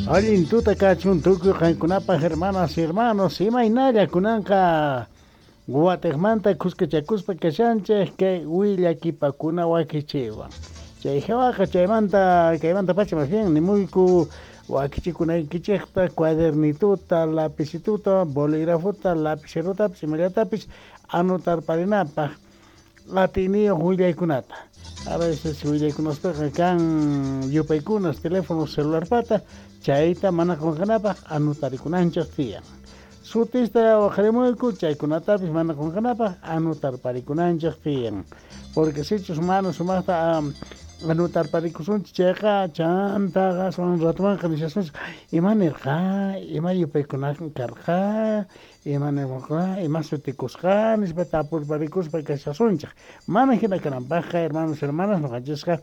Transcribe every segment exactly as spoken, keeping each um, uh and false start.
Allin tuta kachun tukuy qankunapaq, hermanas y hermanos. Imaynalla kunanqa watiqmanta kuskachakuspa kashanchik kay willakipakuna wakichiwan. Chay hawaqa chaymanta kaymanta pacha más bien nimuyku wakichikunaykichikta cuadernituta, lapicituta, bolígrafota, lapicerotapis, imallatapis anotarparinapaq atiyniyuq willaykunata. A veces willaykunaspaqa kan yupaykunas teléfono celularpata, chayta mana qunqanapaq anotarikunanchik tiyan. Sutista waqarimuyku, chaykunatapis mana qunqanapaq anotarparikunanchik tiyan. Porque sichus mana sumaqta anotarparikusunchik chayqa chantaqa aswan ratumanqa nishasunchik ima nirqa, ima yupaykuna karqa, ima nirqa, ima sutikusqa nispa tapurparikuspa kashasunchik. Mana hina kananpaqqa, hermanos, hermanas, ñuqanchisqa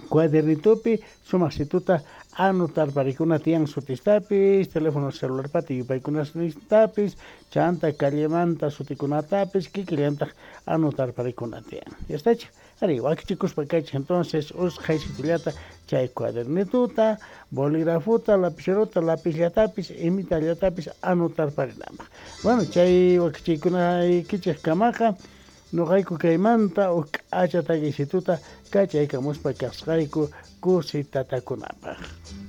cuadernitupi sumaqsituta anotarparikuna tiyan sutistapis, teléfono celularpata yupaykunasnintapis, chanta callemanta sutikunatapis kikillantaq anotarparikuna tiyan. Ya está. Ari, wakichikuspa kaychik entonces usqhaysitullata chay cuadernituta, bolígrafota, lapicerota, lapizllatapis, imitallatapis anotarparinapaq. Bueno, chay wakichiykunaykichik kamaqa ñuqayku kaymanta huk k'acha takisituta kachaykamuspa kasqayku kusitatakunapaq.